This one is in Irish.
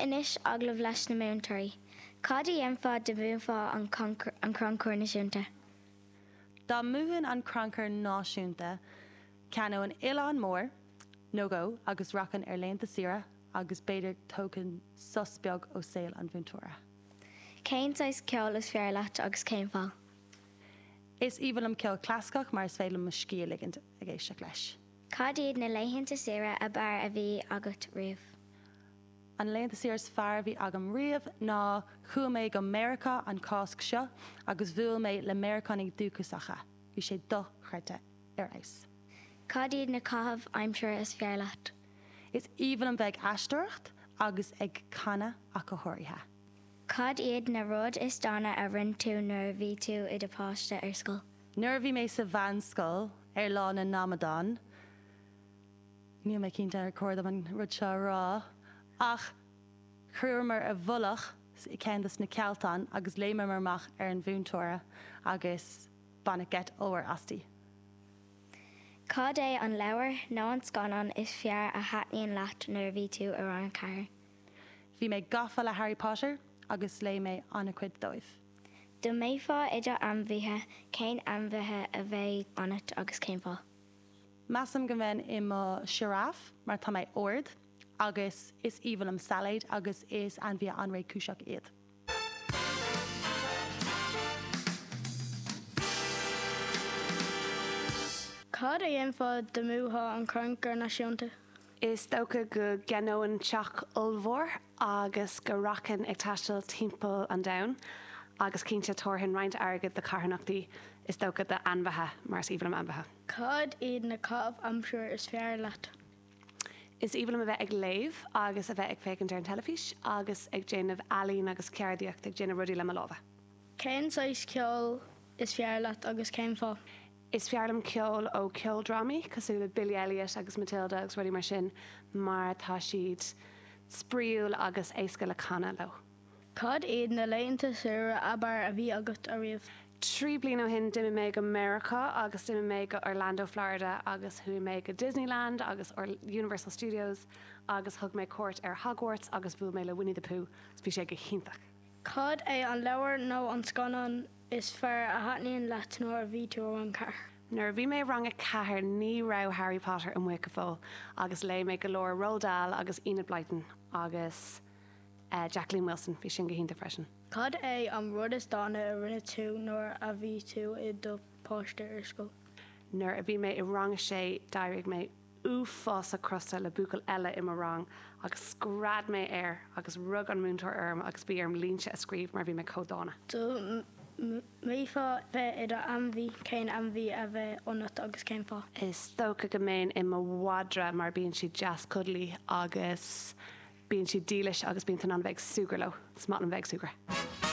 Anois agallamh leis na múinteoirí. Cad a dhéanfá dá mbuafá an Crannchur Náisiúnta? Dá mbuafainn an Crannchur Náisiúnta, cheannóinn oileán mór nó dhó agus rachainn ar laethanta saoire agus b'fhéidir tógfainn sos beag ó saol an mhúinteora. Cén saghas ceoil is fearr leat agus cén fáth? Is aoibhinn liom ceol clasaiceach mar is féidir liom mo scíth a ligint ag éisteacht leis. Cad iad na laethanta saoire ab fhearr a bhí agat riamh? An laethanta saoire is fearr a bhí agam riamh ná chuaigh mé go Meiriceá an Cásc seo agus bhuail mé le Meiriceánaigh dúchasacha. Bhí sé dochreidte. Ar fheabhas. Cad iad na caitheamh aimsire is fearr leat? Is aoibhinn liom bheith ag aisteoireacht agus ag canadh ach go háirithe. Cad iad na rud is dána a rinne tú nuair a bhí tú i do pháiste ar scoil? Nuair a bhí mé sa mheánscoil, ar Lá na nAmadán, níl mé cinnte ar chóir dom an rud seo a rá, ach chuireamar i bhfolach i ceann de na cealltáin agus léimeamar amach ar an mhúinteoir agus baineadh geit ollmhór asti. Cad é an leabhar nó an scannán is fearr a thaitníonn leat nuair a bhí tú i rang a 4? Bhí mé gafa le Harry Potter agus léigh mé an-chuid dóibh. Dá mbeifeá i do ainmhithe, cén ainmhithe a bheadh ionat agus cén fáth? Measaim go mbeinn i mo sioráf mar tá mé ard agus is aoibhinn liom sailéid agus is ainmhithe an-réchúiseach iad. Cad a dhéanfá dá mbuafá an Crannchur Náisiúnta? Is dócha go gceannóinn teach ollmhór agus go rachainn ag taisteal timpeall an domhain agus cinnte tabharfainn roinnt airgid do charthanachtaí, is dócha d'ainmhithe mar is aoibhinn liom ainmhithe. Cad iad na caitheamh aimsire is fearr leat? Is aoibhinn liom a bheith ag léamh agus a bheith ag féachaint ar an teilifís agus ag déanamh ealaín agus ceardaíocht, ag déanamh rudaí le mo lámha. Cén saghas ceoil is fearr leat agus cén fáth? Is fearr liom ceol ó ceoldrámaí cosúil le Billy Elliot agus Matilda agus rudaí mar sin mar tá siad spraíúil agus éasca le canadh leo. Cad iad na laethanta saoire ab fhearr a bhí agat ariamh? 3 bliana ó shin d'imigh mé go Meiriceá agus d'imigh mé go Orlando, Florida agus chuaigh mé go Disneyland agus Universal Studios agus thug mé cuairt ar Hogwarts agus bhuail mé le Winnie the Pooh agus bhí sé go hiontach. Cad é an leabhar nó an scannán is fearr a thaitníonn leat nuair a bhí tú i rang 4? Nuair a bhí mé i rang 4 ní raibh Harry Potter amuigh go fóill agus léigh mé go leor Roald Dahl agus Enid Blyton agus Jacqueline Wilson, bhí sin go hiontach freisin. Cad é an rud is dána a rinne tú nuair a bhí tú i do pháiste ar scoil? Nuair a bhí mé i rang 6 d'éirigh mé uafásach crosta le buachaill eile i mo rang agus scread mé air agus rug an múinteoir orm agus bhí orm línte a scríobh mar bhí mé chomh dána. Dá mbeifeá bheith i do ainmhí, cén ainmhí a bheadh ionat agus cén fáth? Is dócha go mbeinn i mo mhadra mar bíonn siad deas cuddly agus bíonn siad dílis agus bíonn tú in ann a bheith ag súgradh leo. Is maith liom bheith ag súgradh.